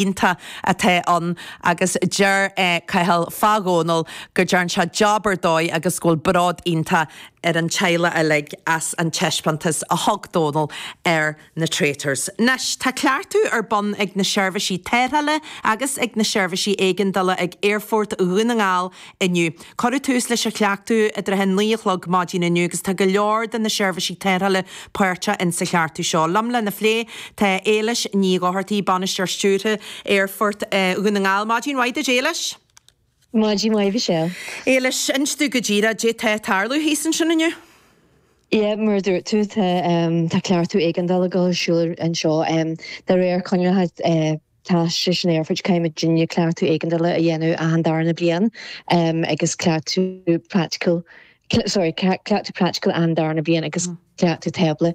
Iontach atá ann agus deir Cathal fá Dhónal go dtearn sé job ar dóigh agus go bhfuil bród iontach ar an teaghlach uilig as an taispeántas a thug Dónal ar na Traitors. Anois, tá cleachtadh ar bun ag na seirbhísí tarrthála agus ag na seirbhísí éigeandála ag Aerfort Dhún na nGall inniu. Cuireadh tús leis an chleachtadh i dtrátha 9 a chlog maidin inniu agus tá go leor de na seirbhísí tarrthála páirteach in sa chleachtadh seo. Liom lena phlé tá Éilis Ní Dhochartaigh, Bainisteoir Stiúrtha Aerfort Dhún na nGall. Maidin mhaith duit Éilis. Maidin mhaith Michelle. Éilis, inis domh go díreach caidé tá ag tarlú thíos ansin inniu. Yeah, mar a dúirt tú, tá tá cleachtadh éigeandála ag dul ar siúl anseo. De réir coinníollacha Teastais an Aerfoirt, caithfidh muidinne cleachtadh éigeandála a dhéanamh achan darna bliain agus cleachtadh praiticiúil, sorry, cleachtadh praiticiúil achan darna bliain agus cleachtadh tábla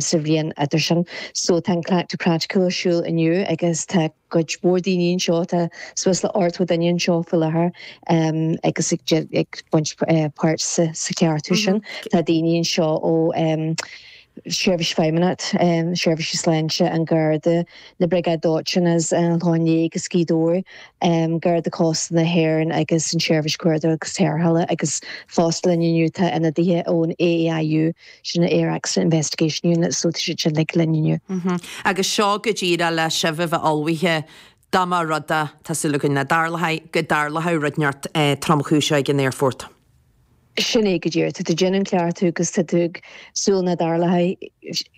sa bhliain idir sin. So tá an cleachtadh praiticiúil ar siúl inniu agus tá cuid mhór daoine anseo, tá suas le 80 duine anseo faoi láthair agus ag baint páirt sa chleachtadh sin. Tá daoine anseo ó Seirbhís Feidhmeannacht, Seirbhísí Sláinte, an Garda, na Briogáid Dóiteáin as an Chlochán Liath agus Gaoth Dobhair, Garda Cósta na hÉireann agus an tSeirbhís Cuardaigh agus Tarrthála agus fosta linn inniu tá ionadaithe ón AAIU, sin an Air Accident Investigation Unit, so tá siad sin uilig linn inniu. Agus seo go díreach le sibh a bheith ullmhaithe dá mba rud é, tá súil againn nach dtarlóidh, go dtarlódh rud inteacht tromchúiseach ag an aerfort. Sin é go díreach. Tá tú ag déanamh an cleachtadh agus tá tú ag súil nach dtarlóidh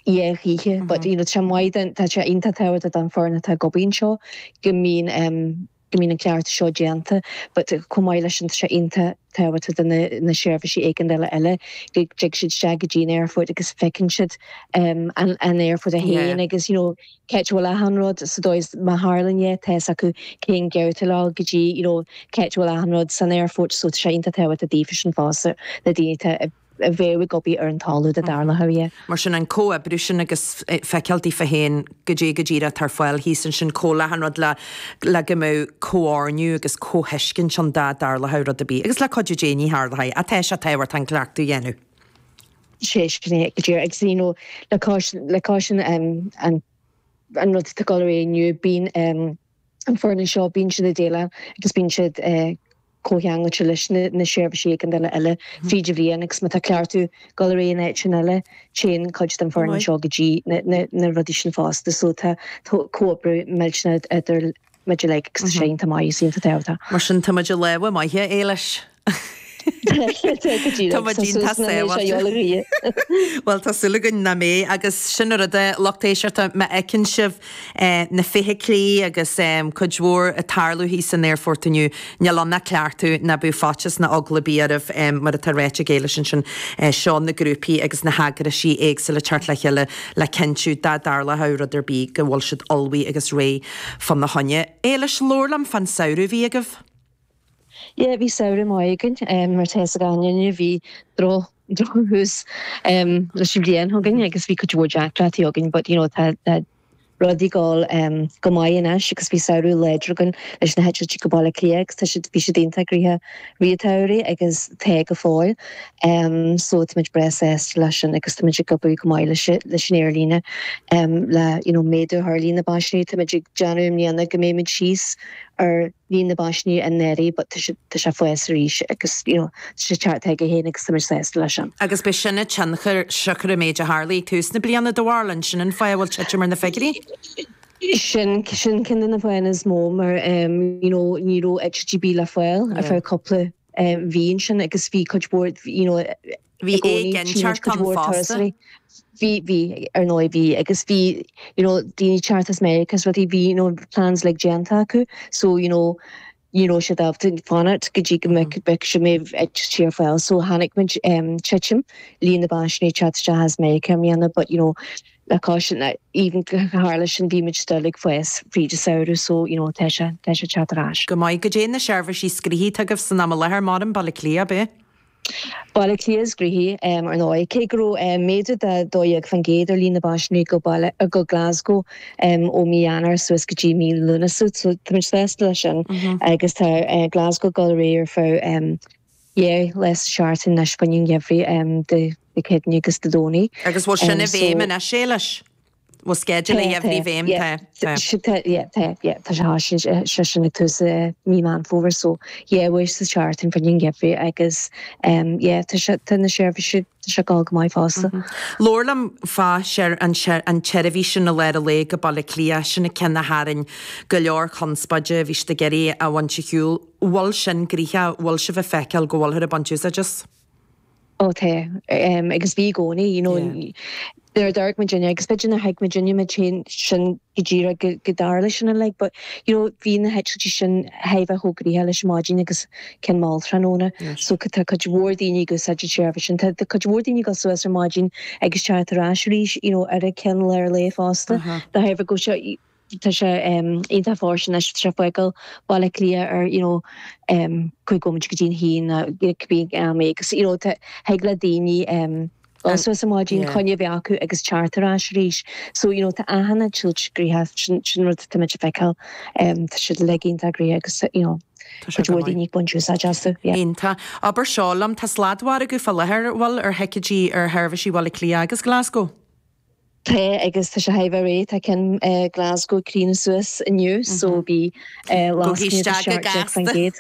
é choíche. But you know tá sé maith don, tá sé iontach tábhachtach don foireann atá ag obair anseo go mbíonn em go mbíonn an cleachtadh seo déanta. But chomh maith leis sin tá sé iontach tábhachtach do na na seirbhísí éigeandála eile go dtig siad isteach go dtí an aerfort agus feiceann siad em an an aerfort é féin agus you know Cá háit a bhfuil achan rud sa dóigh is má tharlaíonn é, tá fhios acu cén gabhta le dhul go dtí, you know, cá háit a bhfuil achan rud san aerfort so tá sé iontach tábhachtach daofa sin fosta, na daoine atá a bheadh ag obair ar an talamh dá dtarlódh é. Mar sin an comhoibriú sin agus feiceáil daofa féin goidé go díreach atá ar fáil thíos ansin chomh le achan rud le le go mbeadh comhoirniú agus comhthuiscint ann dá dtarlódh rud ar bith agus le cuidiú Dé ní tharlóidh ach tá sé tábhachtach an cleachtadh a dhéanamh. Sé sin é go díreach agus you know le cois le cois an um, an an rud atá ag dul ar aghaidh inniu bíonn um, an foireann seo bíonn siad ag déileáil agus bíonn siad uh, comhcheangailte leis na, na seirbhísí éigeandála eile fríd an bhliain agus má tá cleachtadh ag dul ar aghaidh in áiteanna eile téann cuid den foireann seo go dtí na, na, na rudaí sin fosta so tá comhoibriú millteanach idir muid uilig agus tá sé iontach maith is iontach tábhachtach. Mar sin tá muid i lámha maithe, Éilis. Tá muid iontach sábháilte. Bhuel, tá súil againn nach mbeidh agus sin an rud a lucht éisteachta, má fheiceann sibh na feithiclí agus cuid mhór ag tarlú thíos san aerfort inniu, níl ann ach cleachtadh, ná bíodh faitíos ná eagla ar bith oraibh, mar atá ráite ag Éilis ansin, seo na grúpaí agus na heagraisí éagsúla ag teacht le chéile le cinntiú dá dtarlódh rud ar bith go bhfuil siad ullmhaithe agus réidh fána choinne. Éilis, labhair liom fán samhradh a bhí agaibh. Yeah, bhí samhradh maith againn, mar tá fhios ag gach éinne, bhí droch, drochthús leis an bhliain againn agus bhí cuid mhór deacrachtaí againn but you know tá, tá rudaí ag dul go maith anois agus bhí samhradh láidir againn leis na heitiltí go Baile Átha Cliath agus tá siad, bhí siad iontach gnoitheach i rith an tsamhraidh agus tá go fóill. So táimid breá sásta leis sin agus táimid ag obair go maith leis leis an aerlíne le you know méadú a chur ar líon na bpaisinéirí. Táimid ag déanamh i mbliana go mbeimid síos ar líon na bpaisinéirí anuraidh but tá sé tá sé ag fás arís agus you know tá sé ag teacht chuige féin agus táimid sásta leis sin. Agus b'é sin an tionchar siocair an méid a tharlaigh ag tús na bliana do bharúil, an sin an fáth a bhfuil titim ar na figiúirí? Sin sin ceann de na fáthanna is mó mar you know ní raibh eitiltí ar bith le fáil ar feadh cúpla mhí ansin agus bhí cuid mhór you know Bhí éiginnteacht ann fosta. Bhí, bhí, ar ndóigh bhí agus bhí you know daoine ag teacht as Meiriceá is rudaí bhí you know plans like déanta acu so you know ní raibh siad ábalta fanacht go dtí go mbeadh beadh sé mbeadh eitiltí ar fáil so chonaic muid titim líon na bpaisinéirí ag teacht isteach as Meiriceá i mbliana but you know Le cois sin, even tharla sin, bhí muid still ag fás fríd an samhradh so, you know, tá sé, tá sé ag teacht ar ais. Go maith. Goidé na seirbhísí is gnoithí atá agaibh san am i láthair, Maram, Baile Átha Cliath, ab ea? Baile Átha Cliath is gnoithí, ar ndóigh. Cé go raibh méadú de 12% ar líon na bpaisinéirí go Baile, go Glasgow ó mí Eanáir suas go dtí mí Lúnasa, so tá muid sásta leis sin agus tá Glasgow ag dul ar aghaidh ar feadh 2 lá sa seachtain anois fá choinne an gheimhridh Dé Céadaoine agus Dé Domhnaigh. Agus bhfuil sin i bhfeidhm anois, Éilis? Bhfuil sceideal an gheimhridh i bhfeidhm? Tá, tá. Tá, yeah, tá, yeah, tá sé, sé sin ag tús mí Meán Fómhair so yeah, uair sa tseachtain fá choinne an gheimhridh agus yeah, tá sé, tá na seirbhísí, tá sé ag dul go maith fosta. Labhair liom fá an tseirbhís sin i lár an lae go Baile Átha Cliath, sin an ceann a tharraing go leor conspóide, bhí siad ag iarraidh a bhaint ar shiúl. Bhfuil sin gnoitheach, bhfuil sibh ag feiceáil go bhfuilthear ag baint úsáid as? Ó tá, agus bhí i gcónaí, you know, nuair a d'amharc muidinne, agus b'fhéidir nár thuig muidinne muid féin sin go díreach go go dtarlódh sin uilig, but, you know, bhí na heitiltí sin thar a bheith chomh gnoitheach leis an maidin agus ceann mall tráthnóna, so tá cuid mhór daoine ag úsáid an tseirbhís sin. Tá cuid mhór daoine ag dul suas ar maidin agus teacht ar ais arís, you know, ar an ceann lár lae fosta, de thairbhe go bhfuil sé, Tá sé iontach fóirsteanach anois, tá sé ag fágáil Baile Átha Cliath ar you know 5 nóiméad go dtí an haon nó cibé am é agus you know thig le daoine dul suas ar maidin, coinne a bheith acu agus teacht ar ais arís. So you know tá achan eitilt gnoitheach, sin sin rud atá muid ag feiceáil, tá siad uilig iontach gnoitheach agus you know cuid mhór daoine ag baint úsáid astu, yeah. Iontach. Abair seo liom, tá sladmhargadh fá láthair, bhfuil, ar thicéidí ar sheirbhísí Bhaile Átha Cliath agus Glasgow? Tá agus tá sé thar a bheith réidh, tá ceann Glasgow ag críochnú suas inniu so bhí lascaine de 17%.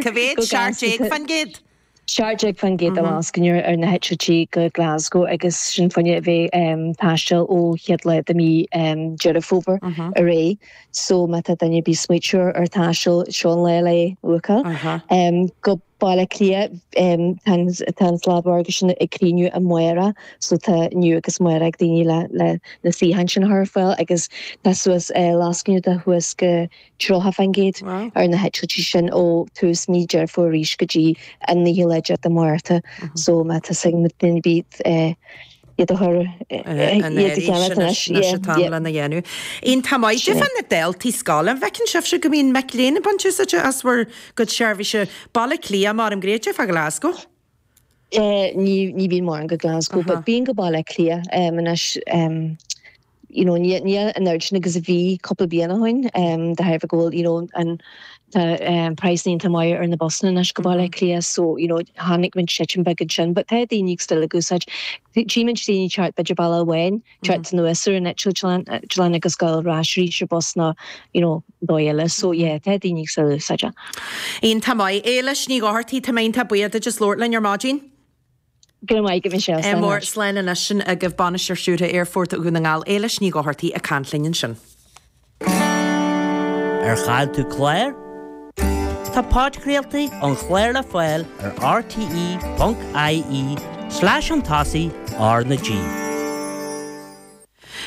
Cá mhéad? 17%? 17% de lascaine ar na heitiltí go Glasgow agus sin fá choinne a bheith ag taisteal ó chéad lá de mí Deireadh Fómhair ar aghaidh. So má tá duine ar bith ag smaoitiú ar taisteal seo an lá le bookáil go Baile Átha Cliath, tá an sladmhargadh sin ag críochnú amárach so tá inniu agus amárach ag daoine le le na suíocháin sin a chur ar fáil agus tá suas lascaine de shuas go 30% ar na heitiltí sin ó tús mí Deireadh Fómhair arís go dtí an 19ú lá de Mhárta so má tá suim ag duine ar bith iad a chur iad a cheannach anois. Anois an t-am lena dhéanamh. Iontach maith. Cad é fá na daltaí scoile, an bhfeiceann sibhse go mbíonn mic léinn ag baint úsáide as bhur gcuid seirbhíse? Baile Átha Cliath, maram gréite fá Glasgow? Ní ní bhíonn mórán go Glasgow but bíonn go Baile Átha Cliath anois you know ní ní an oiread sin agus a bhí cúpla bliain ó shin de thairbhe go bhfuil you know an tá praghsanna iontach maith ar na busanna anois go Baile Átha Cliath so you know chonaic muid titim beag ansin but tá daoine still ag úsáid tchímid daoine teacht b'fhéidir bealach amháin teacht anuas ar an eitleán agus dul ar ais arís ar bus nó you know dóigh eile so yeah tá daoine still ag úsáid é. Iontach maith. Éilis Ní Dhochartaigh, tá mé iontach buíoch duit as labhairt linn ar maidin. Go raibh maith agat Michelle. Slán mór. Slán anois. Sin agaibh Bainisteoir Stiúrtha Aerfort Dhún na nGall, Éilis Ní Dhochartaigh ag caint linn ansin. Ar chaill tú clár? Tá podchraoltaí an chláir le fáil ar rte.ie slash chun tosaigh R na G.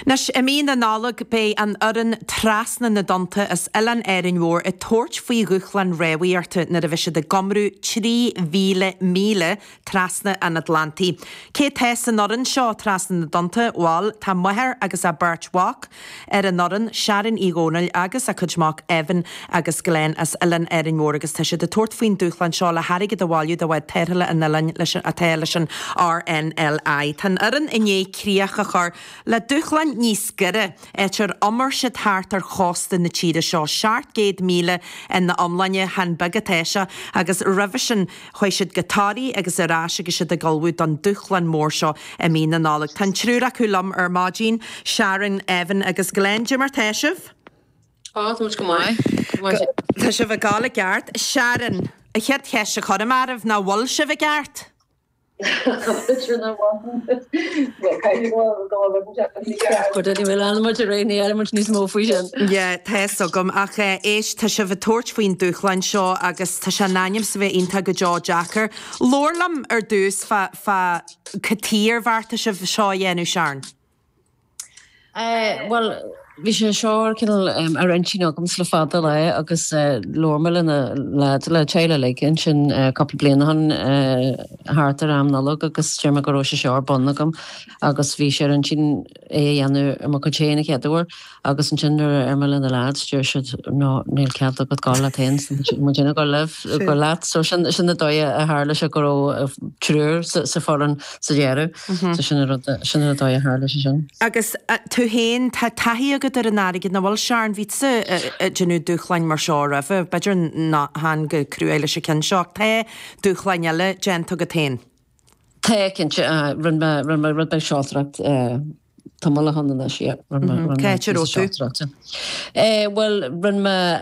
Anois, i mí na Nollag, beidh an fhoireann Trasna na dTonnta as Oileán Árainn Mhór ag tabhairt faoi dhúshlán rámhaíochta nuair a bheidh siad ag iomrú 3,000 míle trasna an Atlantaigh. Cé atá san fhoireann seo, Trasna na dTonnta? Bhal, tá máthair agus a beirt mhac ar an fhoireann, Sharon Uí Dhónaill agus a cuid mac Evan agus Glenn as Oileán Árainn Mhór agus tá siad ag tabhairt faoin dúshlán seo le hairgead a bhailiú do bhád tarrthála an oileáin leis atá leis an RNLI. Tá an fhoireann i ndiaidh críoch a chur le dúshlán níos gaire, áit ar iomair siad thart ar chósta na tíre seo, 700 míle ina iomláine, chan beag atá sé, agus roimhe sin chuaigh siad go Toraigh agus ar ais agus siad ag ullmhú don dúshlán mór seo i mí na Nollag. Tá an triúr acu liom ar maidin, Sharon, Evan agus Glenn. Cad é mar tá sibh? Tá, tá muid go maith. Tá sibh ag gabháil i gceart. Sharon, an chéad cheist a chuirim oraibh ná bhfuil sibh i gceart? Yeah, tá fhios agam, ach éist, tá sibh ag tabhairt faoin dúshlán seo agus tá sé in ainm is a bheith iontach go deo deacair. Labhair liom ar dtús fá, fá cad chuige ar bheartaigh sibh seo a dhéanamh, Sharon. Bhuel, bhí sé seo cineál ar intinn agamsa le fada lá agus labhair mé le na leaids, le teaghlach uilig ansin cúpla bliain ó shin thart ar am Nollag agus deir mé go raibh sé seo ar bun agam agus bhí sé ar intinn é a dhéanamh ar mo chuid féin an chéad uair agus ansin nuair a deir mé le na leaids deir siad no níl cead agat gabháil leat féin muid ag gabháil libh, gabháil leat. So sin sin an dóigh a tharla sé go raibh triúr sa foireann sa deireadh. So sin an rud, sin an dóigh a tharla sé sin. Agus tú féin, tá taithí agat ar an fharraige, nach bhfuil Sharon? Bhí tusa ag déanamh dúshláin mar seo roimhe, b'fhéidir nach chan chomh cruaidh leis an ceann seo, ach tá dúshláin eile déanta agat féin. Tá, cinnte. Rinne mé, rinne mé rud beag seoltóireacht. tamall ó shin anois, yeah. Cá háit a raibh tú? Bhuel, rinne mé.